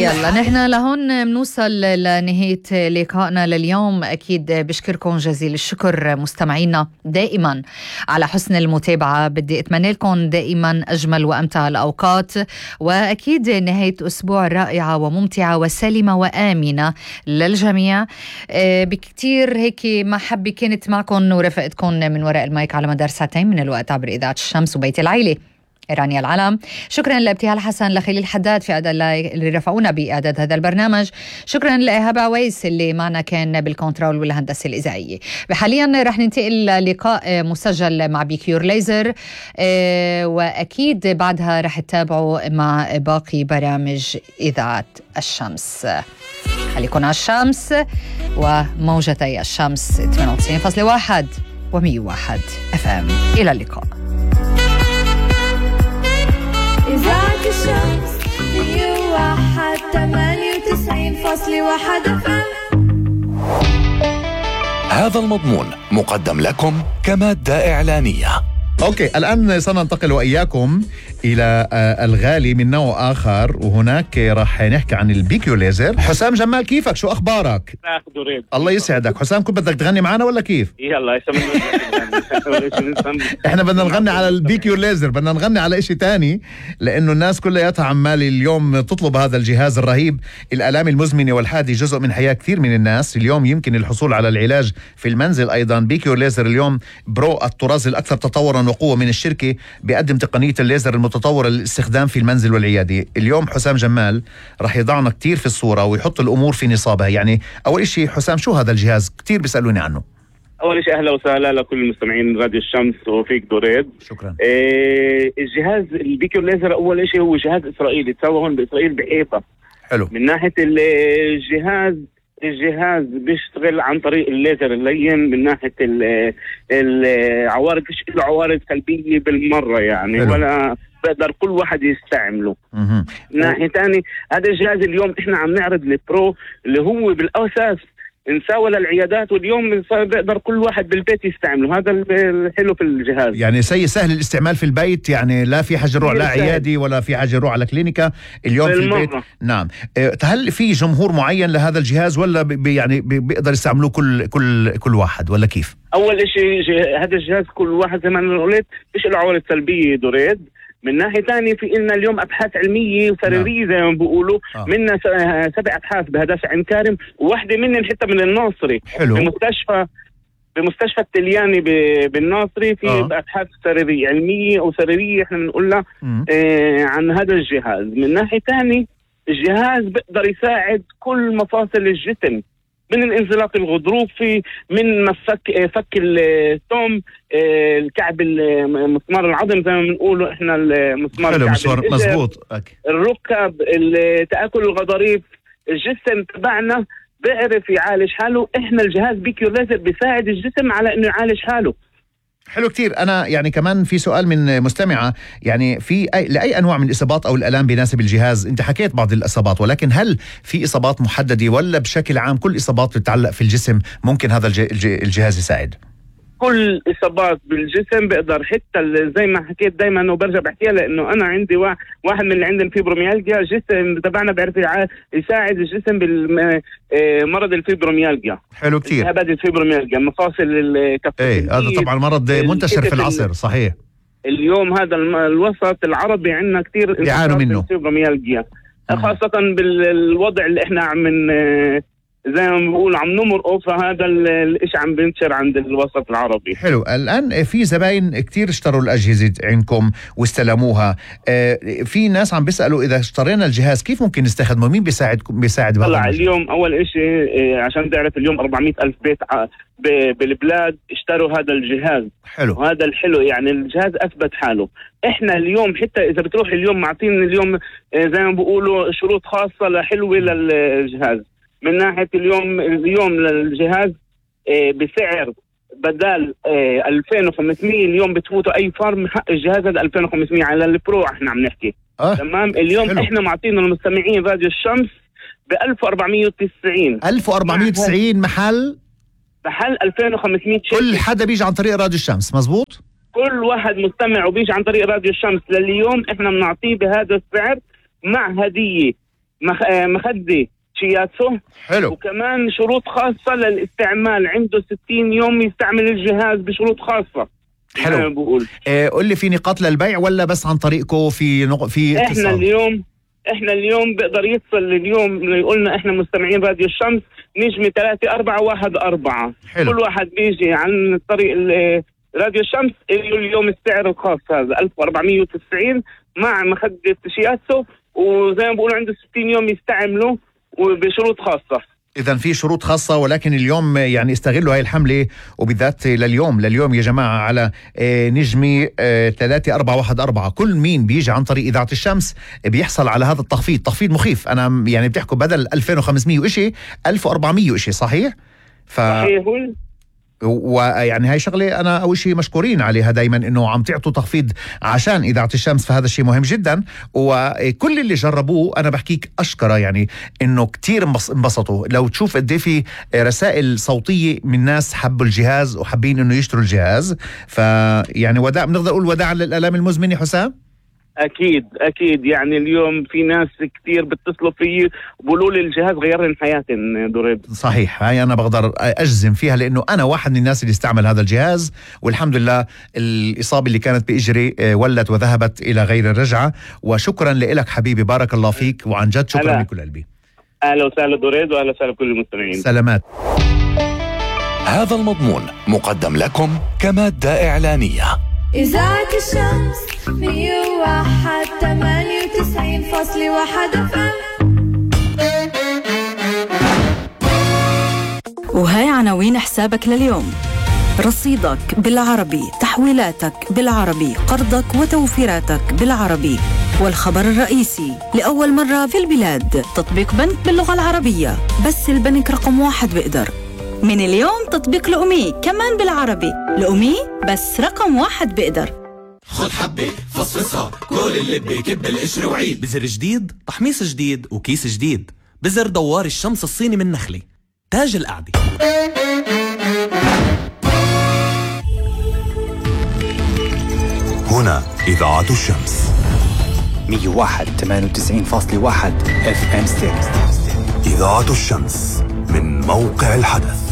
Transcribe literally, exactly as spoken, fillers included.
يلا نحن لهون منوصل لنهاية لقائنا لليوم. أكيد بشكركم جزيل الشكر مستمعينا دائما على حسن المتابعة. بدي أتمنى لكم دائما أجمل وأمتع الأوقات، وأكيد نهاية أسبوع رائعة وممتعة وسلمة وآمنة للجميع. بكتير هيك محبة كانت معكم ورفقتكم من وراء المايك على مدار ساعتين من الوقت عبر إذاعة الشمس وبيت العيلة رانيا العلم. شكرا لابتهال حسن، لخليل حداد في أداء اللي رفعونا بإعداد هذا البرنامج. شكرا لإيهاب عويس اللي معنا كان بالكنترول والهندسة الإذاعية. حاليا رح ننتقل للقاء مسجل مع بيكيور ليزر، وأكيد بعدها رح تتابعوا مع باقي برامج إذاعة الشمس. خليكن على الشمس وموجتي الشمس ثمانية وتسعين فاصلة واحد ومية وواحد اف ام. إلى اللقاء. إذاعة الشمس مية وواحد ثمانية وتسعين فاصلة واحد اف ام. هذا المضمون مقدم لكم كمادة إعلانية. أوكي، الآن سننتقل وإياكم إلى الغالي من نوع آخر، وهناك راح نحكي عن البيكيو ليزر. حسام جمال، كيفك؟ شو أخبارك؟ الله يسعدك. حسام، كنت بدك تغني معنا ولا كيف؟ يلا احنا بدنا نغني على البيكيو ليزر، بدنا نغني على إشي تاني، لأنه الناس كلها عمال اليوم تطلب هذا الجهاز الرهيب. الآلام المزمنة والحادة جزء من حياة كثير من الناس. اليوم يمكن الحصول على العلاج في المنزل أيضا. بيكيو ليزر اليوم برو الطراز الأكثر تطورا وقوة من الشركة، بيقدم تقنية الليزر المتطورة للاستخدام في المنزل والعيادة. اليوم حسام جمال رح يضعنا كتير في الصورة ويحط الأمور في نصابها. يعني أول شيء حسام، شو هذا الجهاز؟ كتير بيسألوني عنه. أول شيء أهلا وسهلا لكل المستمعين راديو الشمس وفيك دوريد. شكرا. إيه الجهاز البيكيو ليزر أول شيء هو جهاز إسرائيلي تسوى هون بإسرائيل بحيفا. حلو. من ناحية الجهاز الجهاز بيشتغل عن طريق الليزر اللين. من ناحية العوارض فيش له عوارض سلبية بالمرة يعني. حلو. ولا بقدر كل واحد يستعمله. مه. من ناحية تاني هذا الجهاز اليوم احنا عم نعرض البرو اللي هو بالأساس نساوى للعيادات، واليوم بقدر كل واحد بالبيت يستعمله. هذا الحلو في الجهاز، يعني سي سهل الاستعمال في البيت، يعني لا في حاجة يروح لا عيادي ولا في حاجة يروح على كلينيكا. اليوم في البيت. نعم. هل في جمهور معين لهذا الجهاز ولا بي يعني بيقدر يستعملوه كل كل كل واحد ولا كيف؟ اول شيء هذا الجهاز كل واحد زي ما انا قلت فيش له عوارض سلبية دوريد. من ناحية تانية في لنا اليوم أبحاث علمية وسريرية زي ما بيقولوا. آه. منا سبع أبحاث بهدف عين كارم، وواحدة منهم حتى من الناصري. حلو. بمستشفى بمستشفى التلياني بالناصري في آه. أبحاث سريرية علمية أو سريرية احنا بنقولها آه عن هذا الجهاز. من ناحية تانية الجهاز بيقدر يساعد كل مفاصل الجسم، من الانزلاق الغضروفي، من مفك فك الثوم، الكعب مسمار العظم زي ما بنقوله احنا المسمار الكعب، مزبوط، الركب، تآكل الغضاريف. الجسم تبعنا بيعرف يعالج حاله. احنا الجهاز بيكيو ليزر بيساعد الجسم على انه يعالج حاله. حلو كتير. أنا يعني كمان في سؤال من مستمعة، يعني في أي لأي أنواع من الإصابات أو الآلام بيناسب الجهاز؟ أنت حكيت بعض الإصابات، ولكن هل في إصابات محددة ولا بشكل عام كل إصابات بتتعلق في الجسم ممكن هذا الجهاز يساعد؟ كل إصابات بالجسم بقدر، حتى زي ما حكيت دايما وبرجع بحكيها، لأنه أنا عندي واحد من اللي عندهم فيبروميالجيا. الجسم تبعنا بيعرف يساعد الجسم بالمرض الفيبروميالجيا. حلو كتير. هذا الفيبروميالجيا مفاصل الكف. ايه هذا طبعا مرض منتشر في العصر. صحيح. اليوم هذا الوسط العربي عندنا كتير يعانوا منه الفيبروميالجيا، خاصة بالوضع اللي احنا عم زي ما بقول عم نمرقه. فهذا الاشي عم بينتشر عند الوسط العربي. حلو. الآن في زباين كتير اشتروا الأجهزة عندكم واستلموها. في ناس عم بيسألوا إذا اشترينا الجهاز كيف ممكن نستخدمه؟ مين بيساعد بيساعد طلع اليوم أول إشي عشان تعرف اليوم أربعمائة ألف بيت بالبلاد اشتروا هذا الجهاز. حلو. وهذا الحلو يعني الجهاز أثبت حاله. احنا اليوم حتى إذا بتروح اليوم معطين اليوم زي ما بقولوا شروط خاصة لحلوة للجهاز. من ناحية اليوم اليوم للجهاز بسعر بدل ألفين وخمسمائة اليوم بتفوتوا أي فارم حق الجهاز هذا ألفين وخمسمائة على البرو احنا عم نحكي. أه. تمام. اليوم حلو. احنا معطينا المستمعين راديو الشمس ب ألف وأربعمائة وتسعين ألف وأربعمائة وتسعين محل محل ألفين وخمسمائة شيء. كل حدا بيجي عن طريق راديو الشمس. مزبوط. كل واحد مستمع وبيجي عن طريق راديو الشمس لليوم احنا بنعطيه بهذا السعر مع هدية مخ... مخدة شياتسو. حلو. وكمان شروط خاصة للاستعمال، عنده ستين يوم يستعمل الجهاز بشروط خاصة. حلو. بقول إيه قول لي، في نقاط للبيع ولا بس عن طريقكم في نق... في احنا اتصال؟ اليوم احنا اليوم بيقدر يتصل اليوم، يقولنا احنا مستمعين راديو الشمس نجمة ثلاثة أربعة واحد أربعة. حلو. كل واحد بيجي عن طريق راديو الشمس اليوم السعر الخاص هذا ألف وأربعمية وتسعين مع مخدة شياتسو، وزي ما بقولوا عنده ستين يوم يستعمله وبشروط خاصة. إذا في شروط خاصة، ولكن اليوم يعني استغلوا هاي الحملة، وبالذات لليوم لليوم يا جماعة على نجمي ثلاثة أربعة واحد أربعة. كل مين بيجي عن طريق إذاعة الشمس بيحصل على هذا التخفيض، تخفيض مخيف. أنا يعني بتحكوا بدل ألفين وخمسمية وإشي ألف وأربعمية وإشي، صحيح؟ ف... صحيح. ويعني هاي شغله انا اول شيء مشكورين عليها دائما، انه عم تعطوا تخفيض عشان اذاعه الشمس، فهذا الشيء مهم جدا. وكل اللي جربوه انا بحكيك اشكره، يعني انه كتير انبسطوا. لو تشوف قد ايه في رسائل صوتيه من ناس حبوا الجهاز وحابين انه يشتروا الجهاز، فيعني وداع، بنقدر نقول وداعا للالام المزمنه. حسام اكيد اكيد، يعني اليوم في ناس كتير بتصلوا فيي بقولوا لي الجهاز غير لي حياتي دريد. صحيح، هاي انا بقدر اجزم فيها، لانه انا واحد من الناس اللي استعمل هذا الجهاز، والحمد لله الاصابه اللي كانت باجري ولت وذهبت الى غير الرجعه. وشكرا لك حبيبي، بارك الله فيك، وعن جد شكرا من كل قلبي. اهلا وسهلا دريد، واهلا وسهلا بكل المستمعين. سلامات. هذا المضمون مقدم لكم كمادة إعلانية. إذاعة الشمس مية وواحد ثمانية وتسعين فاصلة واحد اف ام. وهاي عناوين حسابك لليوم: رصيدك بالعربي، تحويلاتك بالعربي، قرضك وتوفيراتك بالعربي. والخبر الرئيسي: لأول مرة في البلاد تطبيق بنك باللغة العربية، بس البنك رقم واحد بيقدر. من اليوم تطبيق لأمي كمان بالعربي، لأمي بس رقم واحد بيقدر. خد حبة فصفصها، كل اللي بيكب القشر وعيد. بزر جديد، تحميص جديد، وكيس جديد. بزر دوار الشمس الصيني من نخلة، تاج القعدة. هنا إذاعة الشمس مية وواحد ثمانية وتسعين فاصلة واحد اف ام ستيريو. إذاعة الشمس من موقع الحدث.